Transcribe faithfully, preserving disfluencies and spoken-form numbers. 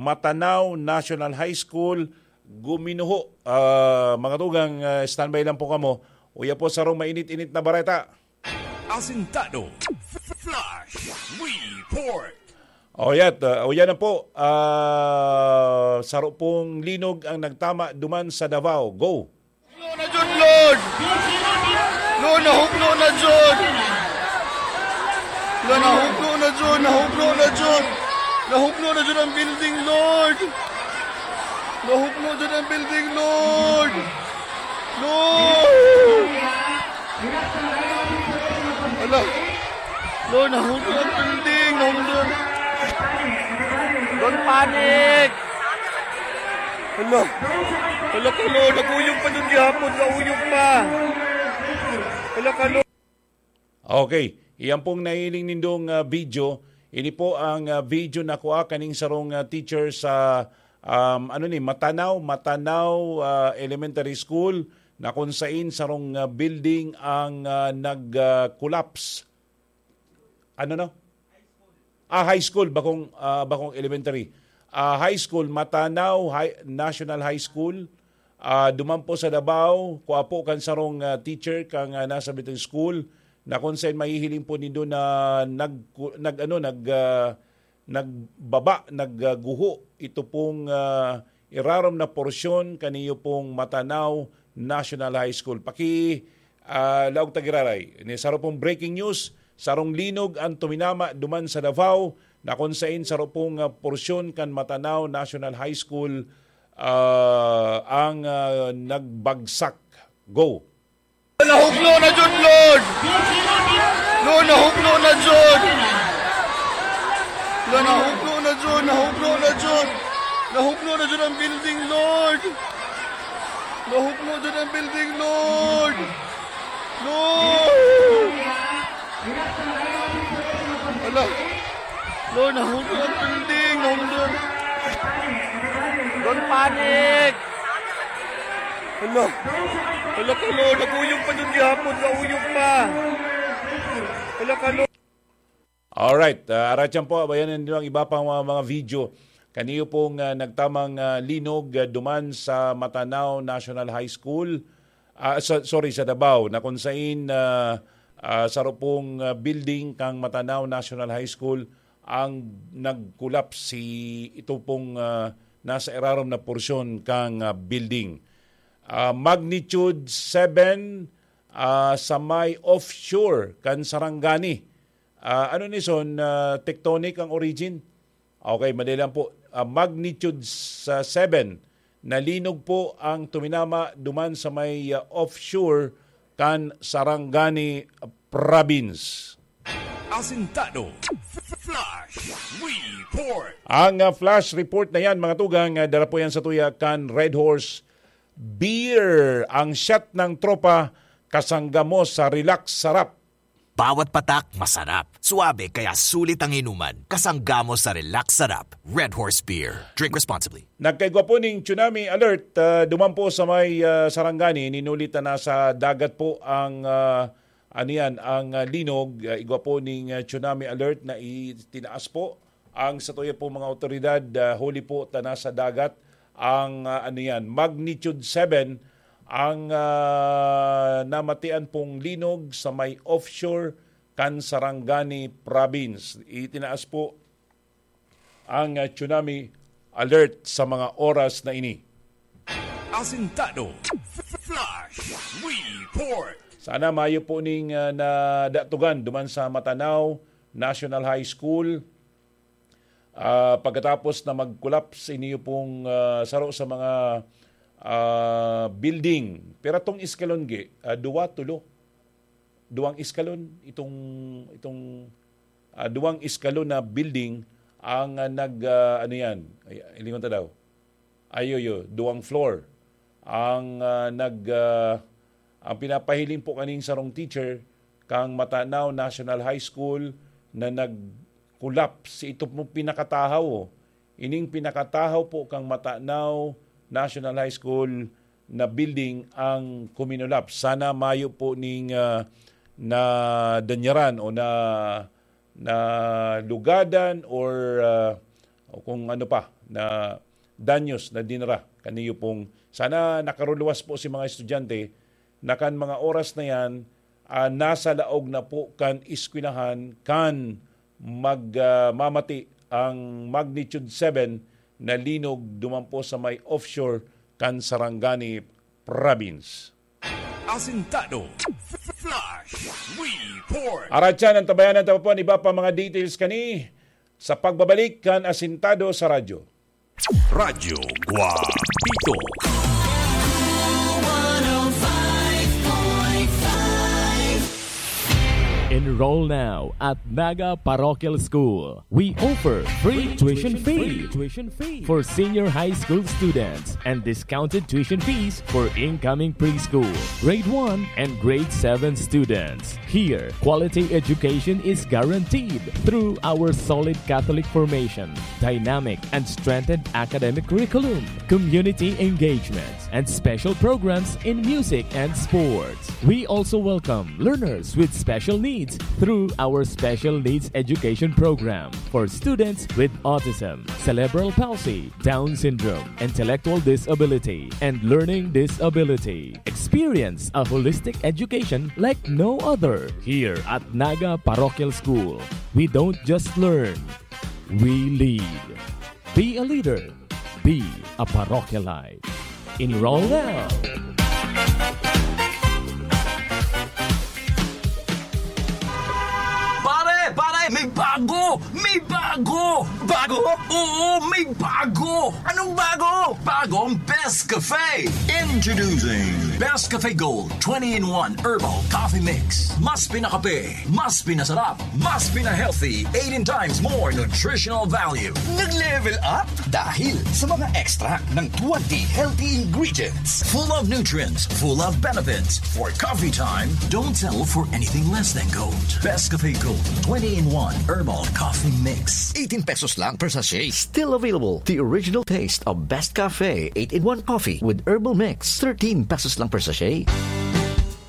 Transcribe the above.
Matanao National High School, guminuho. Ah, mga tugang, ah, standby lang po kamo. Uya po sarong mainit-init na bareta. Asintado. Flash Report. O, yat, ah, o, yan na po. Ah, saro pong linog ang nagtama duman sa Davao. Go! Nahukno na jud, Lord! Lord, nahukno na jud! Lord, nahukno na jud! Nahukno na jud! Nahukno na jud ang building, Lord! Nahukno jud ang building, Lord! Lord! Ala! Lord, nahukno ang building! Nahukno! Don't panic! Hala! Hala ka, Lord! Nag-uyog pa dun gihapon! Nag-uyog pa! Hala ka, Lord! Okay. Iyan pong nahiling nindong, ah, video. Ini po ang, ah, video na kua kaning sarong, ah, teacher sa, um, ano ni, Matanao, Matanao, ah, Elementary School, na kung sain sarong, ah, building ang, ah, nag, ah, collapse. Ano, no? Ah, high school, bakong, ah, bakong elementary. Ah, high school, Matanao High, National High School. Ah, duman po sa Davao, kua po kan sarong, ah, teacher kan, ah, nasa bitong school, na kung saen mahihiling po nindo na nag-, nag-, ano, nag-, ah, nagbaba, nagguho ito pong, ah, irarom na porsyon kaniyo pong Matanao National High School. Paki, ah, laog ta giraray. Ni saro pong breaking news, sarong linog ang tuminama duman sa Davao, na kung saen saro pong, ah, porsyon kan Matanao National High School, ah, ang, ah, nagbagsak. Go! Nahukno na jud, Lord! Lord, nahukno na jud! Lord, nahukno na jud! Nahukno na jud! Nahukno na jud ang building, Lord! Nahukno jud ang building, Lord! Lord! Hala! Lord, nahukno ang building! Nahukno! Don't panic! Hala! Hala ka, Lord! Nag-uyog pa dun gihapon! Nag-uyog pa! Hala ka, Lord! Alright, ah, aratyan po, abayan nindo ang iba pang mga, mga video. Kaniyo pong, ah, nagtamang, ah, linog, ah, duman sa Matanao National High School, ah, sa, sorry, sa Davao, na kung sain, ah, ah, saro pong, ah, building kang Matanao National High School ang nag-collapse. Si, ito pong, ah, nasa irarom na porsyon kang, ah, building. Ah, magnitude seven, ah, sa may offshore kan Sarangani. Ah, ano ni son, ah, tectonic ang origin? Okay, madali lang po. Ah, magnitude sa seven na linog po ang tuminama duman sa may, ah, offshore kan Sarangani Province. Asintado. Flash Report. Ang, ah, flash report na yan, mga tugang, ah, dala po yan sa tuya kan Red Horse Beer. Ang shot ng tropa, kasangga mo sa relax sarap. Bawat patak, masarap. Suabe, kaya sulit ang inuman. Kasangga mo sa relax sarap. Red Horse Beer. Drink responsibly. Nagkaigwa po ning tsunami alert, ah, duman po sa may, ah, Sarangani. Ninuli ta nasa dagat po ang, ah, ano yan, ang, ah, linog. Ah, igwa po ning, ah, tsunami alert na itinaas po ang satuya pong mga awtoridad, ah, huli po ta nasa dagat ang, ah, ano yan, magnitude seven ang, ah, namatian pong linog sa may offshore kan Sarangani Province. Itinaas po ang, ah, tsunami alert sa mga oras na ini. Asintado. Flash Report. Sana mayo po ning, ah, nadatugan duman sa Matanao National High School. Ah, pagkatapos na mag-collapse iniyo pong, ah, saro sa mga, ah, building. Pero tong eskalon gi, ah, duwa, tulo. Duwang eskalon itong, itong, ah, duwang eskalon na building ang, ah, nag, ah, ano yan, ay, lingon ta daw. Ayo, yo, duwang floor. Ang, ah, nag, ah, ang pinapahiling po kaning sarong teacher kang Matanao National High School na nag-collapse. Ito po pinakatahaw, oh. Ining pinakatahaw po kang Matanao National High School na building ang kuminulaps. Sana mayo po ning, ah, nadanyaran o na, nalugadan or, ah, o kung ano pa, na danyos na dinara kaniyo pong, sana nakaruluwas po si mga estudyante na kan mga oras na yan, ah, nasa laog na po kan eskwelahan kan mag, ah, mamati ang magnitude seven na linog duman po sa may offshore kan Sarangani Province. Asintado. Flash Report. Aratyan ang tabayanan ta po an iba pa mga details kani sa pagbabalik kan Asintado sa Radyo. Radyo Guapito. Enroll now at Naga Parochial School. We offer free tuition fee for senior high school students and discounted tuition fees for incoming preschool, grade one, and grade seven students. Here, quality education is guaranteed through our solid Catholic formation, dynamic and strengthened academic curriculum, community engagement, and special programs in music and sports. We also welcome learners with special needs through our Special Needs Education Program for students with autism, cerebral palsy, Down syndrome, intellectual disability, and learning disability. Experience a holistic education like no other. Here at Naga Parochial School, we don't just learn, we lead. Be a leader. Be a parochialite. Enroll now. Pare, pare, may bago! May bago! Bago? Oo, may bago! Anong bago? Bagong Best Cafe! Introducing Best Cafe Gold twenty-in-one Herbal Coffee Mix. Mas pinakape, mas pinasarap, mas pina-healthy, eighteen times more nutritional value. Nag-level up dahil sa mga extract ng twenty healthy ingredients. Full of nutrients, full of benefits. For coffee time, don't settle for anything less than gold. Best Cafe Gold twenty-in-one Herbal Coffee Mix. Eighteen pesos lang per sachet. Still available, the original taste of Best Cafe eight-in-one Coffee with Herbal Mix. Thirteen pesos lang per sachet.